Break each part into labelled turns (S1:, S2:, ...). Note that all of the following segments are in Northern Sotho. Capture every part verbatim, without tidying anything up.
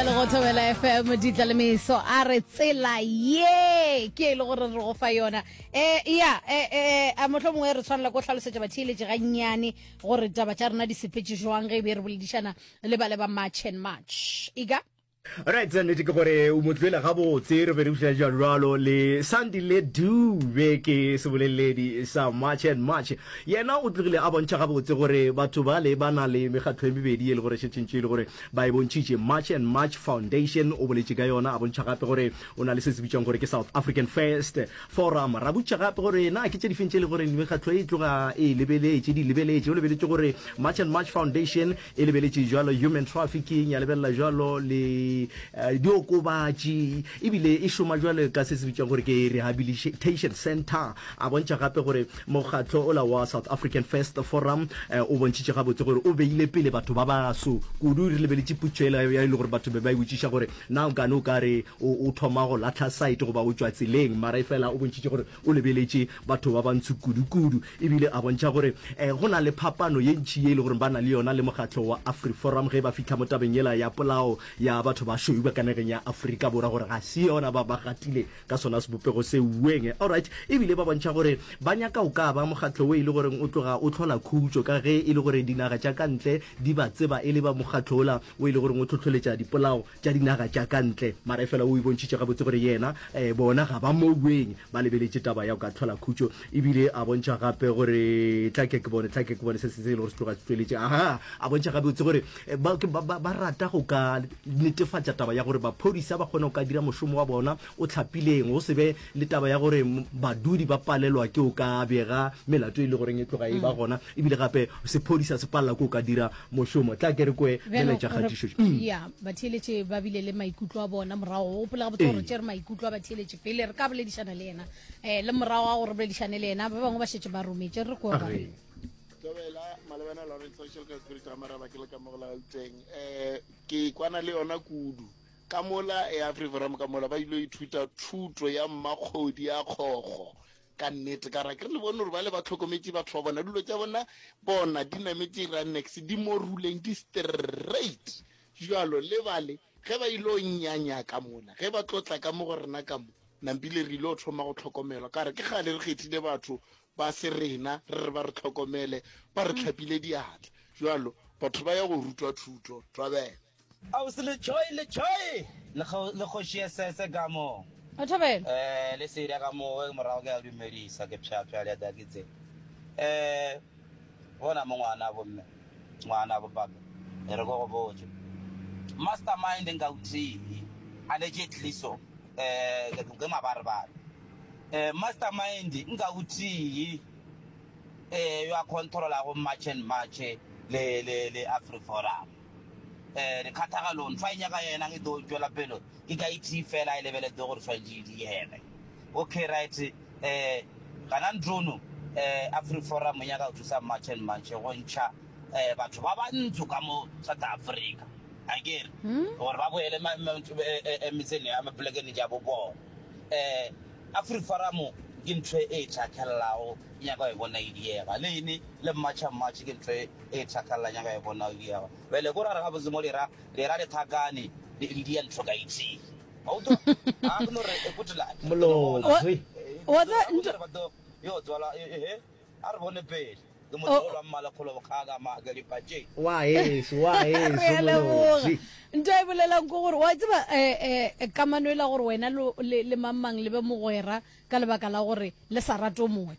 S1: Bjale go Thobela F M, ditla le meso, a re tsela ye ke e le gore re go fa yona. um ya um a motlho mongwe re tshwanela ko hlalosetša batheeletše gannyane gore taba tša rena di sepetše jwang ge e be re boledišana le ba le ba March and March ika.
S2: Right, nnete ke gore o mo tloele gabotse. Re be re buša jalo le Sandile Dube, ke seboleledi sa March and March. Yena o tlogile a bontšha gabotse gore batho ba le ba na le mekgatlo e mebedi e le gore šetšentše e le gore ba e bontšhitše. March and March Foundation o boletše ka yona, a bontšha gape gore o na le se se bitswang gore ke South African First Forum. Ra botša gape gore na ke tše difeng tše e le gore mekgatlo e tloga e lebeletše, di lebeletše. O lebeletše gore March and March Foundation e lebeletše jalo human trafficking, ya lebelela jalo le eh, diokobatši, ebile e šoma jalo ka se se bitswang gore ke rehabilitation center. A bontšha gape gore mokgatlo ola wa South African First Forum eh, o bontšhitše gabotse gore o beile pele batho ba baso kudu. Re lebeletše putšo ela ya e le gore batho be ba e botšiša gore na o kane o ka re o o thoma go latlha site goba o tšwa tseleng, mara e fela o bontšhitše gore o lebeletše batho ba bantsho kudu-kudu. Ebile a bontšha gore um go na le phapano ye ntšhi ye e le gore ba na le yona le mokgatlo wa AfriForum ge ba fitlha mo tabeng yela ya polao ya batho ba šweu ba ka nageng ya Afrika Borwa, gore ga se yona ba ba gatile ka sona sebopego se ueng. Alright, ebile ba bontšha gore ba nyaka o ka ba mokgatlo o e le goreng o tloga o tlhola khutšo, ka ge e le gore dinaga tša ka ntle di ba tseba e le ba mokgatlo ola o e le goreng o tlhotlholetša dipolao tša dinaga tša ka ntle. Mara e fela o e bontšhitše gabotse gore yena um bona ga ba moueng, ba lebeletše taba ya go ka tlhola khutšo. Ebile a bontšha gape gore tla ke ke bone, tla ke ke bone se se e le gore se tloga se tsweletše. Aha, a bontšha gabotse gore eh, ba, ba, ba, ba rata go ka netefatša taba ya gore baphodisa ba kgone go ka dira mošomo wa bona o tlhapileng, go se be le taba ya gore badudi ba palelwa ke o ka bega melato e le goreng e tloga e ba gona, ebile gape sephodisa se palela ke o ka dira mošomo. Tla ke re kwe melaetša kgatišo.
S1: Ya, batheeletše ba bile le maikutlo a bona morago. Gopola gabotse gore tšere maikutlo a batheeletše pele re ka boledišana le yena, um le morago ga gore boledišane le yena. Ba bangwe ba šetše ba rometše, re ko ba
S2: Re.
S3: Tobela malebana Lawrence Social ka Spirit ga Maraba, ke le ka mo go la Gauteng. um ke kwana le yona kudu ka mola e AfriForum, ka mola ba ile ithuta thuto ya mmakgodi ya kgogo ka nnete. Ka ra ke re le bone gore ba le ba tlhokometše batho ba bona, dilo tša bona bona di nametše ranex, di mo ruleng, di straight jalo. Le bale ge ba ile o nyanya ka mola, ge ba tlotla ka mo go rena ka mo nampile, re ile o thoma go tlhokomelwa. Ka re ke kgale re kgethile batho ba se rena, re re ba re tlhokomele, ba re tlhapile diatla jalo. Batho ba ya go rutwa thuto. Thobela.
S4: Ausi Lechoi, Lechoi le kgo- le kgoši ya sese ka mo.
S1: O thobela.
S4: eh le seria ka mo ge morago ke a dumedisa, ke pšhapša le ya ke tse eh bona mo ngwana bo mme, ngwana bo papa, e re ko go botse mastermind nka uthihi allegedly. So eh ke ke mabarebare, eh mastermind nka uthihi eh yo a controlago March and March le le le AfriForum, eh dikgathagalong fa e nyaka yena e tlo tswela pele ke ka it fela e lebeletse gore tshwanetse di diege. Okay, right, eh gana ntrono eh AfriForum nyaka go thusa March and March go ntšha eh batho ba bantsho ka mo South Africa, akere gore ba boele ma- ma- eh, eh, eh, metseng ya mapolekeng ja bo bona. eh AfriForum ke ntho e tšhakellago, nyaka go e bona e diega, le ene le March and March ke ntho e tšhakelela, nyaka e bona e diega. Bjale ko ra re gabotse mo lera lera lethakane le le dia ntho ka itee. Wa utlwa? A ke no re eh, good luck.
S2: Molobzi.
S1: Wa tseba ntho-
S4: Yo tswala eh a re bone pele ke motlogolo wa mmalekgolo bokgaka maake dipatše.
S2: Wa heso, wa
S1: Re
S2: heso,
S1: a leboga.
S2: Molobzi.
S1: Ntho e bolelang ke gore wa tseba um kamano e la gore wena lo- le le mang mang le be mogwera ka lebaka la gore le sa rate o mongwe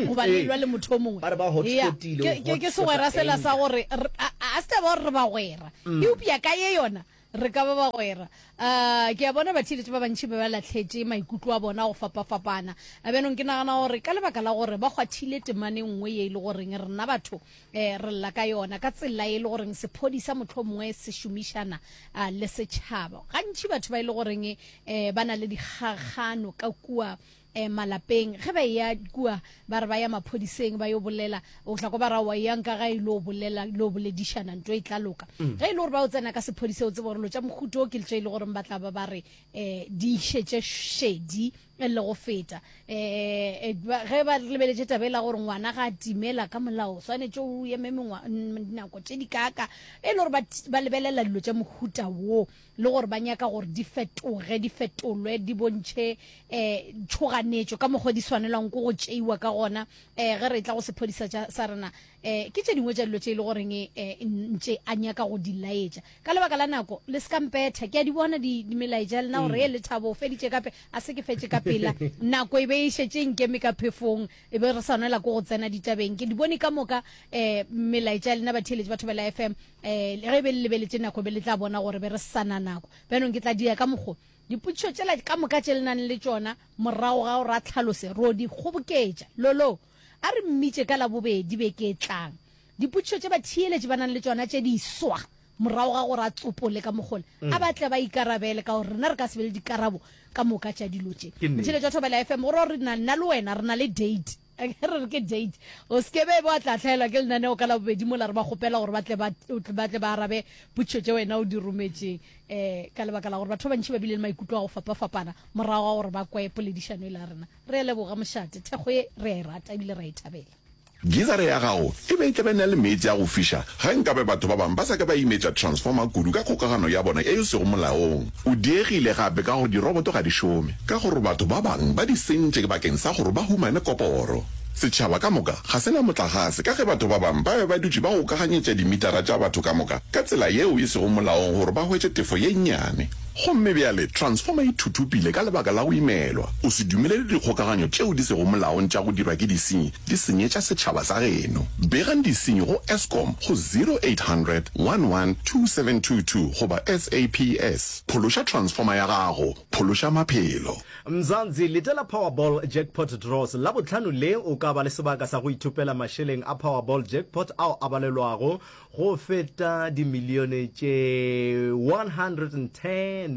S1: goba le
S2: ee.
S1: lwa le motho o mongwe.
S2: Ba re ba
S1: Ya,
S2: hotspotile,
S1: ke-
S2: o
S1: ke ke
S2: hotspota
S1: segwera sela sa
S2: anger.
S1: gore re- a a se taba gore re bagwera, eupša ka ye yona re ka ba bagwera. um ke a bona batheeletše ba bantšhi ba ba latlhetše maikutlo a bona go fapafapana. A bjanong ke nagana gore ka lebaka la gore ba kgwathile temane nngwe ye e le goreng rena batho um re lla ka yona, ka tsela e le goreng sephodisa motlho mongwe se šomišana uh, le setšhaba. Gantši batho ba e le goreng um ba na le dikgagano ka kua um malapeng, ge ba eya kua ba re ba ya maphodiseng ba yo bolela, o tla ko ba ra wa yang ka ga e lo bolela lo boledišana, ntho e tla loka. Ge e le gore ba o tsena ka sephodisa, o tsebe gore lo tša mohuto o ke tše e le goreng ba tla ba ba re um di išetše šedi. le go feta. Um ge ba lebeletše taba e la gore ngwana ga a timela ka molao swanetše o eme dinako tše di kaaka, e le gore ba lebelela dilo tša mohuta wo le gore ba nyaka gore di fetoge, di fetolwe, di bontšhe um tšhoganetšo ka mokgwa di swanelwang ke go tšeiwa ka gona. Um ge re tla go sephodisa sa rena, um ke tše dingwe tša dilo tše e le goreng um ntše a nyaka go di laetša. Ka lebaka la nako le se ka mpetha, ke a di bona di melaetša lena gore e Lethabo o feditše kape, a se ke fetše ka pela, nako e be e šetše nkeme ka phefong, e be re swanela ke go tsena ditabeng. Ke di bone ka moka um melaetša lena batheeletši ba Thobela F M, um ge be le lebeletše nako be le tla bona gore be re sana nako. Bjanong ke tla dia ka mokgo dipotšišo tšela ka moka tše le nang le tšona morago ga gore a tlhalose, ro di kgoboketša. Lolo a re mmitše ka labobedi beke e tlang. Dipotšišo tše batheeletši ba nang le tšona tše di swa morago ga gore a tsopole ka mogole, a ba tle ba ikarabele, ka gore rena re ka se be le dikarabo ka moka tša dilo tše. Motšheletši wa Thobela F M, gore re na nna le wena re na le date, re re ke date, o se ke be wa tla hlaelwa ke lenaneo ka labobedi mola re ba kgopela gore ba tle ba tle ba arabe potšišo tše wena o di rometšeng, um ka lebaka la gore batho ba bantši ba bile le maikutlo a go fapafapana morago ga gore ba kwe poledišano e la rena. Re a leboga mošate, thekgo ye re a e rata ebile re a e thabela.
S5: Geyser ya gago e be e tla be na le meetse a go fiša ge nkabe batho ba bangwe ba sa ke ba imetša transformer kudu ka kgokagano ya bona ye e sego molaong. O diegile gape ka gore diroboto ga di šome ka gore batho ba bangwe ba di sentše bakeng sa gore ba humane koporo. Setšhaba ka moka ga se na motlagase ka ge batho ba bangwe ba be ba dutše ba gokaganyetša dimitara tša batho ka moka ka tsela yeo e sego molaong gore ba hwetše tefo ye nnyane. Gomme bjale transformer e thuthupile ka lebaka la go imelwa. O se dumelele dikgokaganyo tšeo di sego molaong tša go dirwa ke disenyi di senyetša setšhaba sa geno. Begang disenyi go Eskom go zero eight hundred one one two seven two two goba S A P S. Phološa transformer ya gago, phološa maphelo.
S2: Mzansi, letela Powerball Jackpot Draws Labohlano le o ka ba le sebaka sa go ithopela mašeleng a Powerball Jackpot ao a balelwago go feta dimilione tše one hundred and ten.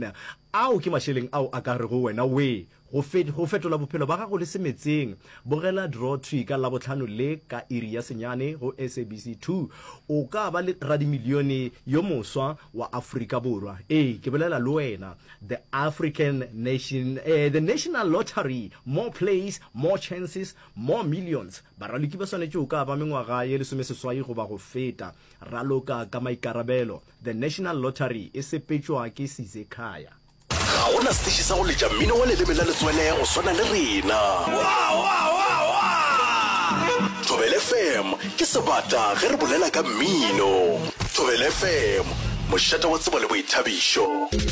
S2: Ao ke mašeleng ao a ka rego wena we go go fetola bophelo ba gago le semetseng. Bogela draw thwi ka Labohlano le ka iri ya senyane go S A B C two. O ka ba le radimilione yo moswa wa Afrika Borwa. Ee, ke bolela le wena. The African Nation, eh, the National Lottery, more plays, more chances, more millions. Baraloki ba swanetše o ka ba mengwaga ye lesomeseswai goba go feta. Raloka ka maikarabelo. The National Lottery e sepetšwa ke Sizekhaya.
S5: Ga gona setiši sa go letša mmino wa leleme la letswele go swana le rena. Thobela F M ke sebata ge re bolela ka mmino. Thobela F M, mošate wa tsebo le boithabišo.